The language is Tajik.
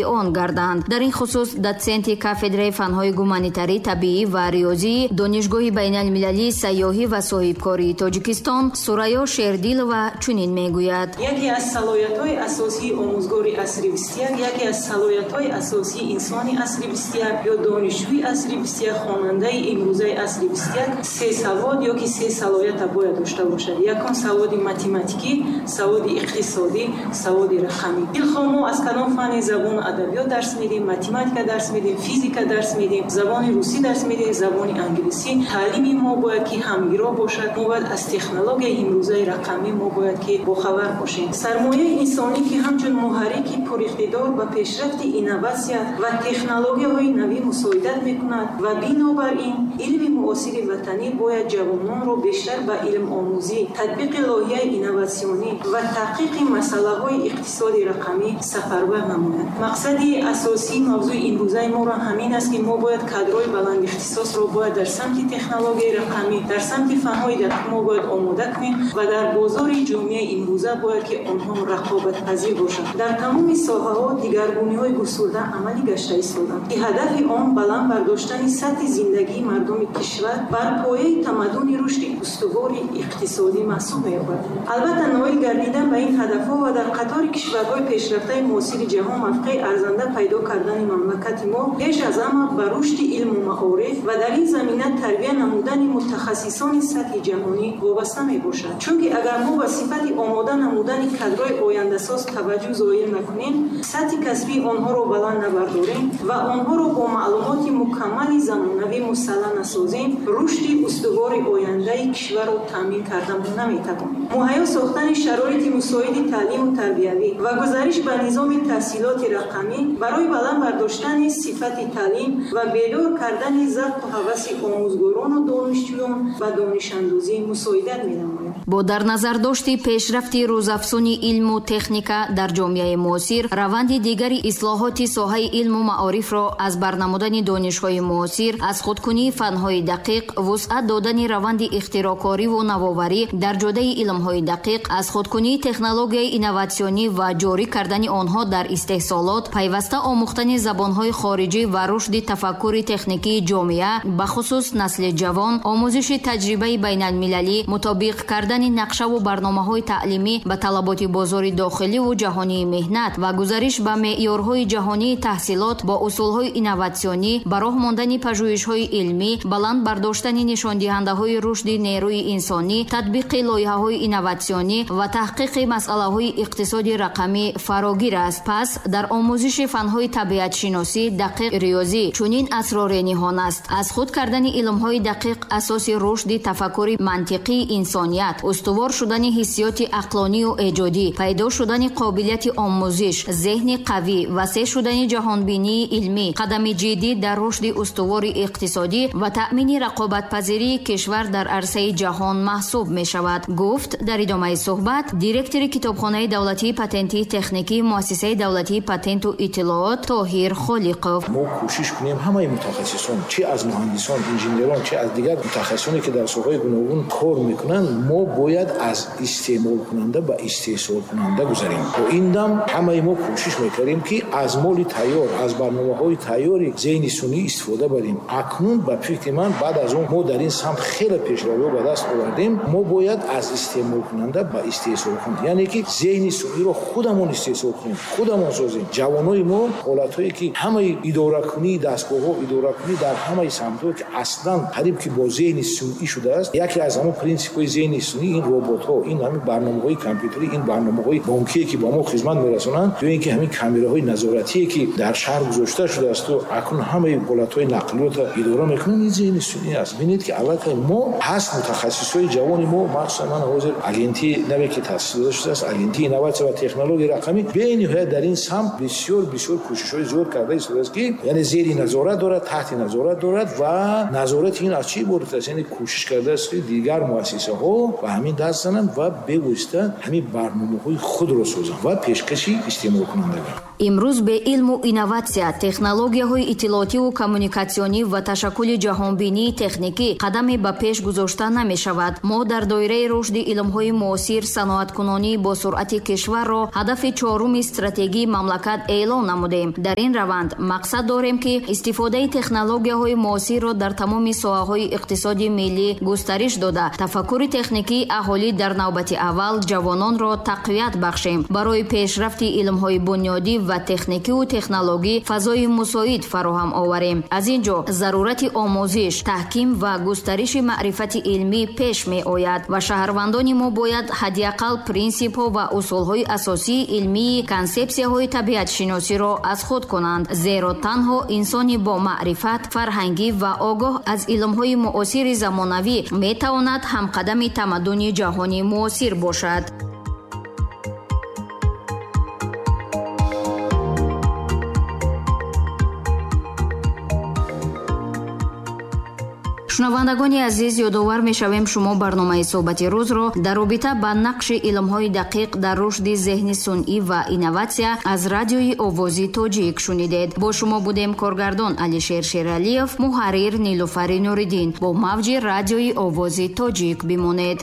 Он гарданд. Дар ин хусус дотсенти кафедраи фанҳои гуманитарӣ, табиӣ ва риёзии Донишгоҳи байналмилалии сайёҳӣ ва соҳибкории Тоҷикистон Сурайё Шердилова чунин мегӯяд: Яке аз салоҳиятҳои асосии омӯзгори асри 21, яке аз салоҳиятҳои асосии инсони асри 21 ё донишҷӯи асри 21, хонандаи имрӯзаи асри 21 се савод ё ки се салоҳията бояд дошта бошад. Якум саводи математикӣ, саводи иқтисодӣ, саводи рақамӣ. Дилхоҳ мо аз кадом фанни забону адабиёт дарс медиҳем, математика дарс медиҳем, физика дарс медиҳем, забони русӣ дарс медиҳем, забони англисӣ, таълими мо бояд ки ҳамгиро бошад. Мо бояд аз технологияи имрӯзаи рақамӣ мо бояд ки бохабар бошем. Сармояи инсонӣ, ки ҳамчун муҳаррики пуриқтидор ба пешрафти инноватсия ва технологияҳои навӣ мусоидат мекунад ва бинобар ин илми муосири ватанӣ бояд ҷавононро бештар ба илмомӯзӣ, татбиқи лоиҳаи инноватсионӣ ва таҳқиқи масъалаҳои иқтисоди рақамӣ сафарбар намояд. Мақсади асосии мавзӯи имрӯзаи моро ҳамин аст, ки мо бояд кадрҳои баландихтисосро бояд дар самти технологияи рақамӣ, дар самти фанҳои дақиқ мо бояд омода кунем ва дар бозори ҷомеаи имрӯза бояд ки онҳо рақобатпазир бошанд. Дар тамоми соҳаҳо дигаргуниҳои густурда амалӣ гашта истодаанд, ки ҳадафи он баланд бардоштани сатҳи зиндагии мардуми кишвар бар пояи тамаддуни рушди устувори иқтисодӣ маҳсуб меёбад. Албатта, ноил гардидан ба ин ҳадафҳо ва дар қатори кишварҳои пешрафтаи муосири ҷаҳон мавқеи арзанда пайдо кардани мамлакати мо пеш аз ҳама ба рушди илму маориф ва дар ин замина тарбия намудани мутахассисони сатҳи ҷаҳонӣ вобаста мебошад. Чунки агар мо ба сифати омода намудани кадрҳои ояндасоз таваҷҷӯҳ зоҳир накунем, сатҳи касбии онҳоро баланд набардорем ва онҳоро бо маълумоти мукаммали замонавӣ мусаллаҳ насозем, рушди устувори ояндаи кишварро таъмин карда наметавонем. Муҳайё сохтани шароити мусоиди таълиму тарбиявӣ ва гузариш ба низоми таҳсилоти рақамӣ барои баланд бардоштани сифати таълим ва бедор кардани завқу ҳаваси омӯзгорону донишҷӯён ба донишандӯзӣ мусоидат менамояд. Бо дар назардошти пешрафти рӯзафзуни илму техника дар ҷомеаи муосир, раванди дигари ислоҳоти соҳаи илму маорифро аз барнамудани донишҳои муосир, аз худкунии фанҳои дақиқ, вусъат додани раванди ихтироъкориву навоварӣ дар ҷодаи илмҳои дақиқ, аз худкунии технологияи инноватсионӣ ва ҷорӣ кардани онҳо дар истеҳсолот, пайваста омӯхтани забонҳои хориҷӣ ва рушди тафаккури техникии ҷомеа, бахусус насли ҷавон, омӯзиши таҷрибаи байналмилалӣ, мутобиқ кардани нақшаву барномаҳои таълимӣ ба талаботи бозори дохиливу ҷаҳонии меҳнат ва гузариш ба меъёрҳои ҷаҳонии таҳсилот бо усулҳои инноватсионӣ, ба роҳ мондани пажӯҳишҳои илмӣ, баланд бардоштани нишондиҳандаҳои рушди нерӯи инсонӣ, татбиқи лоиҳаҳои инноватсионӣ ва таҳқиқи масъалаҳои иқтисоди рақамӣ фарогир аст. Пас дар омӯзиши фанҳои табиатшиносӣ, дақиқ, риёзӣ чунин асроре ниҳон аст: аз худ кардани илмҳои дақиқ асоси рушди тафаккури мантиқии инсоният, устувор шудани ҳиссиёти ақлонию эҷодӣ, пайдо шудани қобилияти омӯзиш, зеҳни қавӣ, васеъ шудани ҷаҳонбинии илмӣ, қадами ҷиддӣ дар рушди устувори иқтисодӣ ва таъмини рақобатпазирии кишвар дар арсаи ҷаҳон маҳсуб мешавад, гуфт дар идомаи суҳбат директори Китобхонаи давлатии патентии техникии Муассисаи давлатии патенту иттилоот Тоҳир Холиқов. Мо кӯшиш кунем, ҳамаи мутахассисон, чи аз муҳандисон, инженерон, чи аз дигар мутахассисоне, ки дар соҳаҳои гуногун кор мекунанд, мо бояд аз истеъмолкунанда ба истеҳсолкунанда гузарем. То ин дам ҳамаи мо кӯшиш мекардем, ки аз моли тайёр, аз барномаҳои тайёри зеҳни сунъӣ истифода барем. Акнун, ба фикри ман, баъд аз он мо дар ин самт хеле пешравиҳо ба даст овардем, мо бояд аз истеъмолкунанда ба истеҳсолкунанда, яъне ки зеҳни сунъиро худамон истеҳсол кунем, худамон созем. Ҷавонои мо ҳолатҳое, ки ҳамаи идоракунии дастгоҳҳо, идоракунӣ дар ҳамаи самтҳо, ки аслан қариб ки бо зеҳни сунъӣ шудааст. Яке аз ҳамон принсипҳои зеҳни сунъӣ ин роботҳо, ин ҳамин барномаҳои компютерӣ, ин барномаҳои бонкие, ки ба мо хизмат мерасонанд, ё ин ки ҳамин камераҳои назоратие, ки дар шаҳр гузошта шудааст акнун ҳамаи ҳолатҳои нақлиётро идора мекунанд, ин зеҳни сунъӣ аст. Бинед, ки аллакай мо ҳаст мутахассисҳои ҷавони мо, махсусан ман ҳозир агентии наве, ки таъсис дода шудааст, Агентии инноватсия ва технологияи рақамӣ, бениҳоят дар ин самт бисёр бисёр кӯшишҳои зиёд карда истодааст, ки яъне зери назорат дорад, таҳти назорат дорад ва назорати ин аз чӣ иборат аст? Яъне кӯшиш кардааст, ки дигар муассисаҳо ба ҳамин даст зананд ва бевосита ҳамин барномаҳои худро созанд ва пешкаши истеъмолкунандагон. Имрӯз бе илму инноватсия, технологияҳои иттилоотиву коммуникатсионӣ ва ташаккули ҷаҳонбинии техникӣ қадаме ба пеш гузошта намешавад. Мо дар доираи рушди Илмҳои муосир саноаткунонии босуръати кишварро ҳадафи чоруми стратегии мамлакат эълон намудем. Дар ин раванд мақсад дорем, ки истифодаи технологияҳои муосирро дар тамоми соҳаҳои иқтисоди миллӣ густариш дода, тафаккури техникии аҳолӣ, дар навбати аввал ҷавононро тақвият бахшем, барои пешрафти илмҳои бунёдӣ ва техникиву технологӣ фазои мусоид фароҳам оварем. Аз ин ҷо зарурати омӯзиш, таҳким ва густариши маърифати илмӣ пеш меояд ва шаҳрвандони мо бояд ҳадди ақал принсипҳо ва усулҳои асосии илмии консепсияҳои табиатшиносиро аз худ кунанд, зеро танҳо инсони бо маърифат, фарҳангӣ ва огоҳ аз илмҳои муосири замонавӣ метавонад ҳамқадами тамаддуни ҷаҳони муосир бошад. Шунавандагони азиз, ёдовар мешавем, шумо барномаи суҳбати рӯзро дар робита ба нақши илмҳои дақиқ дар рушди зеҳни сунъӣ ва инноватсия аз Радиои Овози Тоҷик шунидед. Бо шумо будем коргардон Алишер Шералиев, муҳаррир Нилуфари Нуриддин. Бо мавҷи Радиои Овози Тоҷик бимонед.